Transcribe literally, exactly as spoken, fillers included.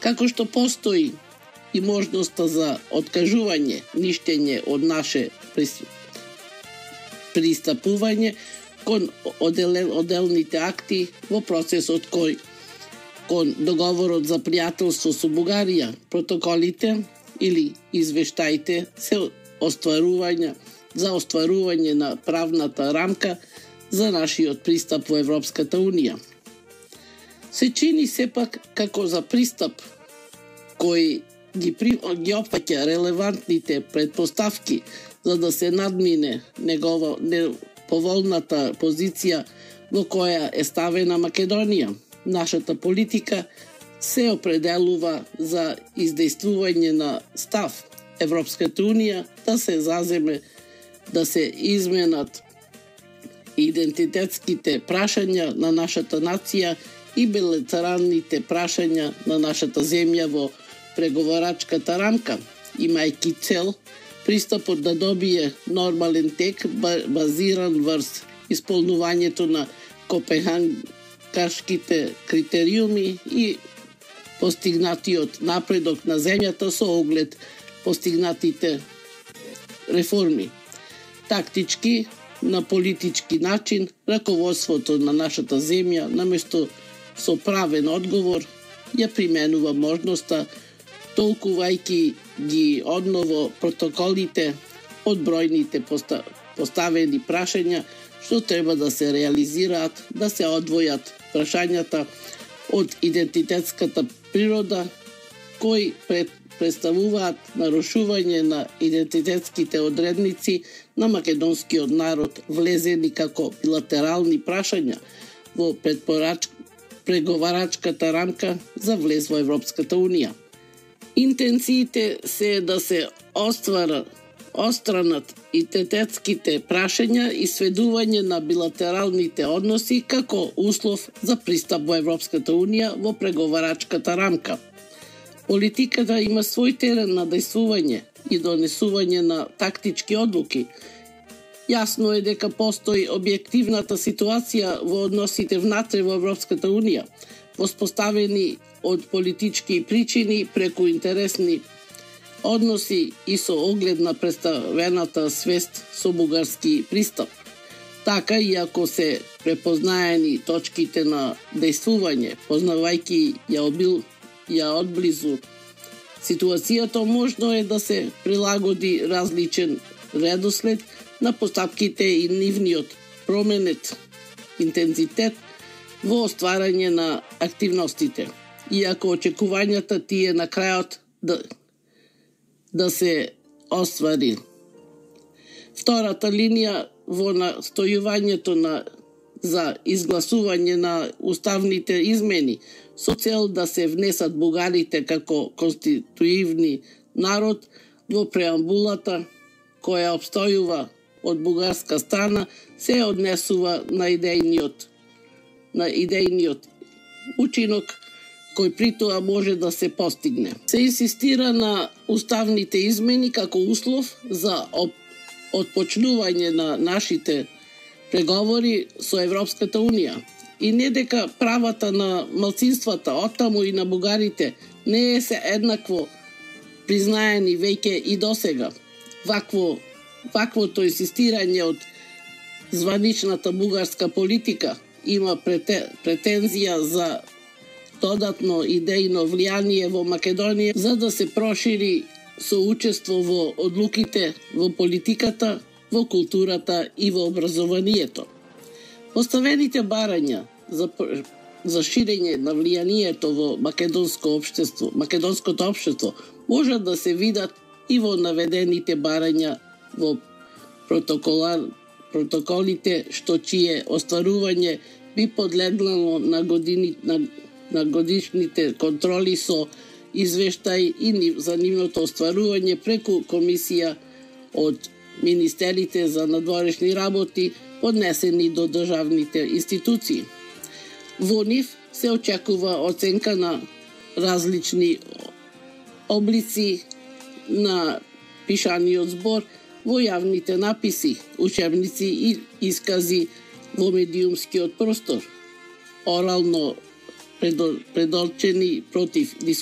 Како што постои и можноста за откажување, ништење од наше пристапување кон оделните акти во процесот кој кон договорот за пријателство со Бугарија, протоколите или извештаите се остварување за остварување на правната рамка за нашиот пристап во Европската Унија. Се чини сепак како за пристап кој ги, при... ги опфаќа релевантните предпоставки за да се надмине негова неповолната позиција во која е ставена Македонија. Нашата политика се определува за издействување на став Европската Унија да се заземе, да се изменат идентитетските прашања на нашата нација и билатералните прашања на нашата земја во преговорачката рамка, имајќи цел пристапот да добие нормален тек базиран врз исполнувањето на копенхагенските критериуми и постигнатиот напредок на земјата со оглед постигнатите реформи. Тактички, на политички начин, раководството на нашата земја, наместо со правен одговор, ја применува можноста, толкувајќи ги одново протоколите од бројните поставени прашања, што треба да се реализираат, да се одвојат прашањата од идентитетската природа, кои пред представуваат нарушување на идентитетските одредници на македонскиот народ, влезени како билатерални прашања во преговарачката рамка за влез во Европската Унија. Интенциите се да се оствара остранат идентитетските прашања и сведување на билатералните односи како услов за пристап во Европската Унија во преговарачката рамка. Политиката има свој терен на действување и донесување на тактички одлуки. Јасно е дека постои објективната ситуација во односите внатре во Европската Унија, воспоставени од политички причини преку интересни односи и со оглед на представената свест со бугарски пристап. Така, иако се препознаени точките на действување, познавајќи ја обил ја одблизу ситуацијата, можно е да се прилагоди различен редослед на постапките и нивниот променет интензитет во остварање на активностите, иако очекувањата тие на крајот да, да се оствари. Втората линија во настојувањето на за изгласување на уставните измени со цел да се внесат бугарите како конституивни народ во преамбулата која обстојува од бугарска страна, се однесува на идејниот на идејниот учинок кој при тоа може да се постигне. Се инсистира на уставните измени како услов за отпочнување на нашите преговори со Европската Унија. И не дека правата на малцинствата, оттаму и на бугарите, не е се еднакво признаени веќе и досега. Вакво, ваквото инсистирање од званичната бугарска политика има претензија за додатно идејно влијание во Македонија за да се прошири соучество во одлуките, во политиката, во културата и во образованието. Поставените барања за, за ширење на влијанието во македонско општество, македонското општество може да се видат и во наведените барања во протоколите, што чие остварување би подлегнало на, години, на, на годишните контроли со извештај и за нивното остварување преку комисија од министерите за надворешни работи поднесени до државните институции. Во нив се очекува оценка на различни облици на пишаниот збор во јавните написи, учебници и искази во медиумскиот простор, орално предорчени против дискусија.